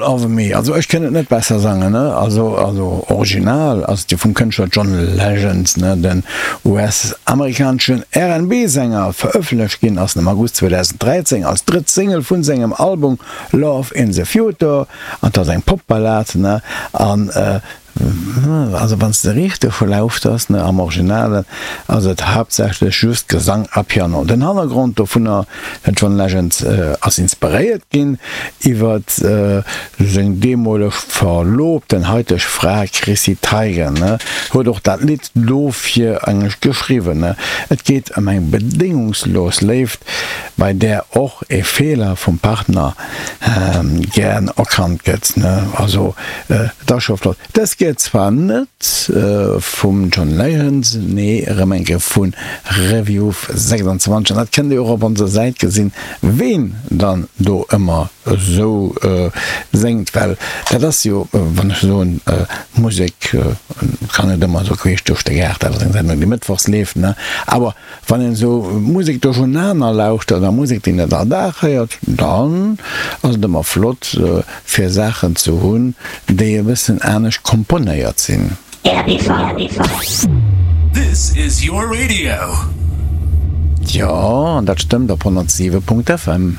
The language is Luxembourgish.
All of Me, also ech kënnt et net besser sangen, ne? Also also original ass et jo vum Kënschtler John Legend, ne, den US-amerikaneschen R&B-Sänger. Verëffentlecht ginn ass en am August 2013 als drëtt Single vun sengem Album Love in the Future an et ass eng Pop-Ballad, ne, an Also wann s de richteg lauschters, ne, am Originalen ass et haaptsächlech just Gesang a Piano. Den Hannergrond dovunner, den John Legend ass inspiréiert ginn iwwert seng deemoleg Verloobten, haiteg Fra Chrissy Teigen, ne, huet och dat Lidd dofir eigentlech geschriwwen, ne. Et geet ëm eng bedéngungslos Léift, bei där och e Feeler vum Partner gären erkannt gëtt, ne. Also Et ass scho flott. Dës gëtt zwar net vum John Legend, nee erëm eng Kéier vu Review 26 an dat kënnt dir och op onser Säit gesinn, ween dann do ëmmer esou séngt, well dat ass jo, wann ech soen, Musek kann net ëmmer esou queesch duerch de Gaart, dat ass eng Sendung déi mëttwochs leeft, ne, awer Wann een esou Musek duerchenaner lauschtert a Musek déi net all Dag héiert, dann ass et ëmmer flott fir Saachen ze hunn, déi e bëssen anescht komponéiert sinn. This is your radio. Jo, an dat stëmmt op 107.fm.